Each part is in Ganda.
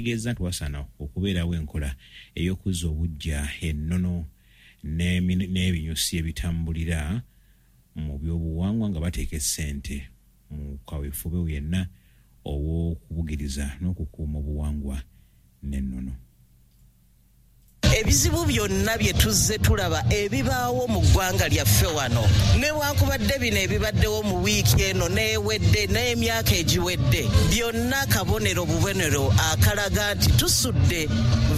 Ategeezezza nti wasaana okubeerawo enkola ey'okuzza obuggya ennono n'ebinyusi ebitambulira mu by'obuwangwa nga bateeka essente mu kaweefube yenna ow'okubugiriza n'okukuuma obuwangwa n'ennono. Ebizibu byonna bye tuzze tulaba ebibaawo mu ggwanga lyaffe wano, newankubadde bino ebibaddewo mu wiiki eno n'ewedde n'emyaka egiwedde, byonna kabonero bubonero akalaga nti tusudde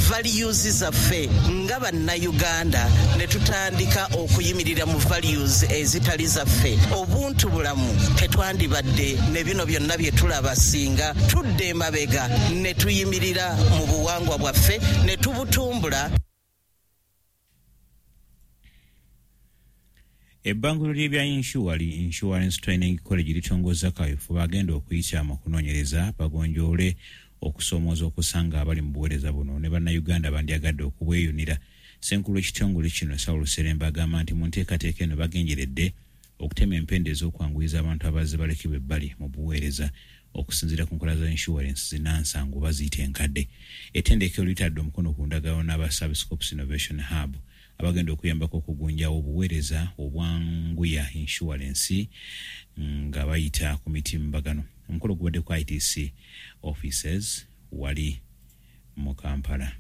values zaffe nga Bannayuganda ne tutandika okuyimirira mu values ezitali zaffe. Obuntu bulamu tetwandibadde ne bino byonna bye tulaba singa tudda emabega ne tuyimirira mu buwangwa bwaffe ne tubutumbula. Ebbanguliro ly'ebya yinsuwa li Insurance Training College litongozza kaweefube agenda okuyita mu kunoonyereza bagonjoole okusoomooza okusanga abali mu buweereza buno ne Bannayuganda abandyagadde okubweyunira. Ssenkulu w'ekitongole kino, Saul Sseremba agamba nti mu nteekateeka eno bagenjeredde okutema empenda ez'okwanguyiza abantu abazze balekebwa ebbali mu buweereza okusinziira ku nkola za insurance zinansangu oba ziyite enkadde. Ettendekero litadde omukono ku ndagaano n'aba Service Corps Innovation Hub abagenda okuyambako okugunjawo obuweereza obwanguya insurance nga bayita ku mitimbagano. Omukolo gubadde ku ITC offices wali mu Kampala.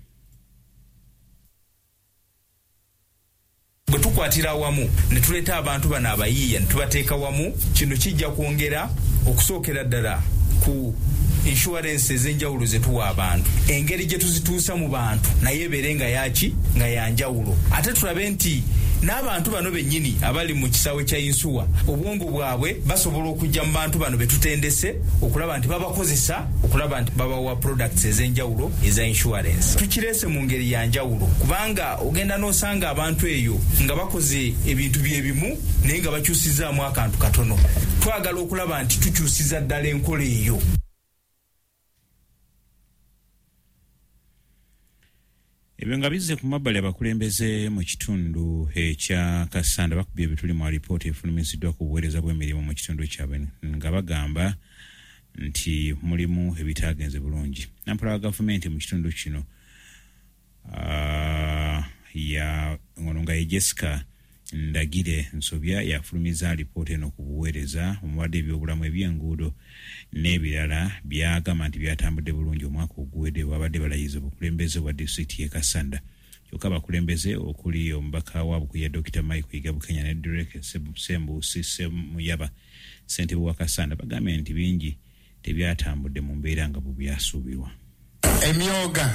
Bwe tukwatira awamu ne tuleeta abantu bano abayiiya ne tubateeka wamu, kino kijja kwongera okusookera ddala ku inshuwarensi ez'enjawulo ze tuwa abantu, engeri gye tuzituusa mu bantu nayo ebeere nga yaaki, nga ya njawulo. Ate tulabe nti n'abantu bano bennyini abali mu kisaawe kya yinsuwa, obwongo bwabwe basobola okujja mu bantu bano be tutendese okulaba nti babakozesa okulaba nti babawa products ez'enjawulo eza inshuwarensi. Tukireese mu ngeri ya njawulo kubanga ogenda n'osanga abantu eyo nga bakoze ebintu bye bimu naye nga bakyusizzaamu akantu katono. Twagala okulaba nti tukyusiza ddala enkola eyo. Ebyo nga bizze ku mabbali, abakulembeze mu kitundu ekya Kassanda bakubye ebituli mu alipoota efulumiziddwa ku buweereza bw'emirimu mu kitundu kyabwe nga bagamba nti mulimu ebitaagenze bulungi. Nampola wa gavumenti mu kitundu kino ya ono nga ye Jessica Ndagire Nsobya yafulumiza alipoota eno ku buweereza omubadde ebyobulamu, ebyenguudo n'ebirala byagamba nti byatambudde bulungi omwaka oguwedde bwabadde balayiza obukulembeze bwa disitulikiti y'e Kassanda. Kyokka abakulembeze okuli omubaka wa Bukuya Dokita Mike Yiga Bukenya ne Derek Ssembuusi Ssemuyaba ssentebe wa Kassanda bagambye nti bingi tebyatambudde mu mbeera nga bwe byasuubirwa. Emyooga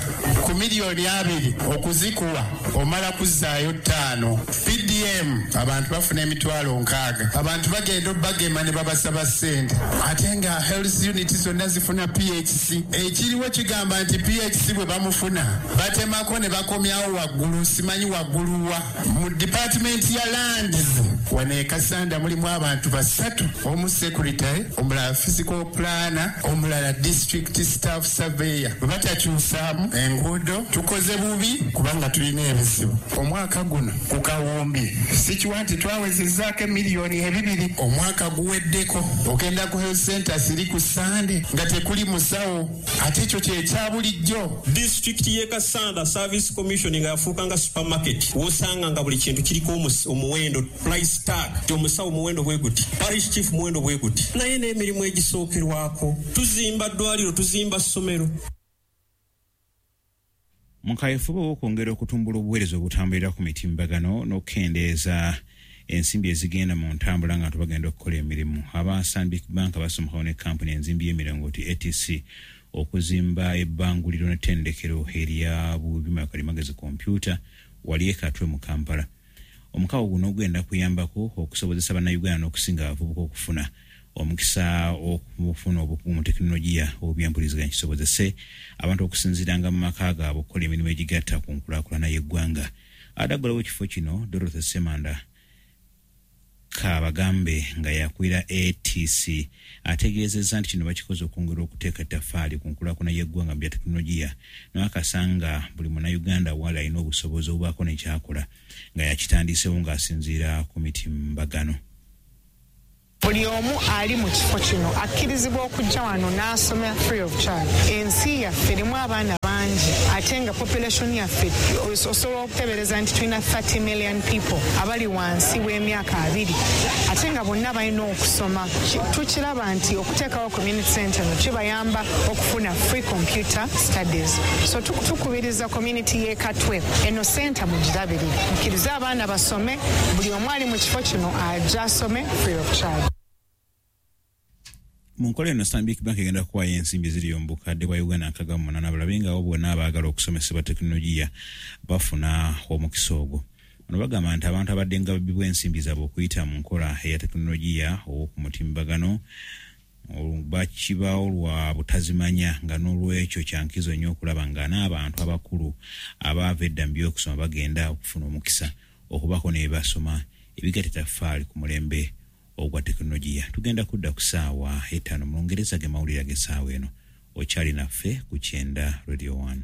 ku miliyoni abiri okuzikuwa omala kuzzaayo ttaano. PDM abantu bafuna 60,000. Abantu bagenda obagema ne babasaba ssente ate nga health unit zonna zifuna PHC. Ekiriwo kigamba nti PHC bwe bamufuna batemako ne bakomyawo waggulu, simanyi waggulu wa. Mu department ya lands wano e Kassanda mulimu abantu basatu, omu secretary, omulala physical planner, omulala district staff surveyor. Bwe batakyusaamu enguudo tukoze bubi kubanga tulina ebizibu. Omwaka guno ku kawumbi sikiwa nti twawezezzaako 2 miliyoni. Omwaka guweddeko ogenda ku health center siri ku Sande nga tekuli musawo, ate ekyo kyekya bulijjo. Disitulikiti y'e Kassanda Service Commission nga yafuuka nga supermarket, wosanga nga buli kintu kiriko omuwendo, price tag, ti omusawo muwendo bwe guti, parish chief muwendo bwe guti, naye n'emirimu egisookerwako, tuzimba ddwaliro, tuzimba ssomero. Mu kaweefube ow'okwongera okutumbula obuweereza obutambulira ku mitimbagano n'okukendeeza ensimbi ezigenda mu ntambula nga bagenda okukola emirimu, aba Stanbic Bank basomokawo ne kampuni enzimbi y'emirongooti ATC okuzimba ebbanguliro n'ettendekero erya byuma kalimagezi kompyuta wali e Katwe mu Kampala. Omukago guno gugenda kuyambako okusobozesa Bannayuganda n'okusinga abavubuka okufuna omukisa okufuna obukugu mu tekinologiya obyempuliziganya, kisobozese abantu okusinziiranga mu maka gaabwe okukola emirimu egigatta ku nkulaakulana y'eggwanga. Adaggulawo ekifo kino, Dorothy Semanda Kabagambe nga yakulira ATC, ategeezezza nti kino bakikoze okwongera okuteeka ettaffaali ku nkulaakulana y'eggwanga mu bya tekinologiya n'akasanga buli Munnayuganda waali alina obusobozi obubaako nekyakola nga yakitandisewo ng'asinziira ku mitimbagano. Buli omu ali mu kifo kino akkirizibwa okujja wano n'asoma free of charge. Ensi yaffe erimu abaana bangi ate nga population yaffe osobola okutebereza nti tulina 30 million people abali wansi w'emyaka 20 ate nga bonna balina okusoma. Tukiraba nti okuteekawo community center no kibayamba okufuna free computer studies. So tukubiriza community y'e Katwe eno center mugirabirire, mukkirize abaana basome, buli omu ali mu kifo kino ajja asome free of charge. Mu nkola eno Stanbic Bank egenda kuwaayo ensimbi eziri mu bukadde bwa Uganda 68 balabe nga abo bonna abaagala okusomesebwa tekinologiya bafuna omukisa ogwo. Bano bagamba nti abantu abadde nga babbibwa ensimbi zaabwe okuyita mu nkola eya tekinologiya ow'oku mutimbagano bakibaawo lwa butazimanya, nga n'olwekyo kyankizo nnyo okulaba nga n'abantu abakulu abaava edda mu by'okusoma bagenda okufuna omukisa okubaako ne basoma ebigatta ettaffaali ku mulembe ogwa tekinologiya. Tugenda kudda ku ssaawa 5 mu Lungereza ge mawulire ag'essaawa eno. Okyali naffe ku Kyenda Radio 1.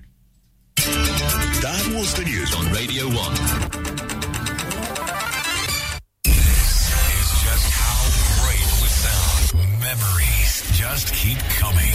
That was the news on Radio 1. This is just how great we sound. Memories just keep coming.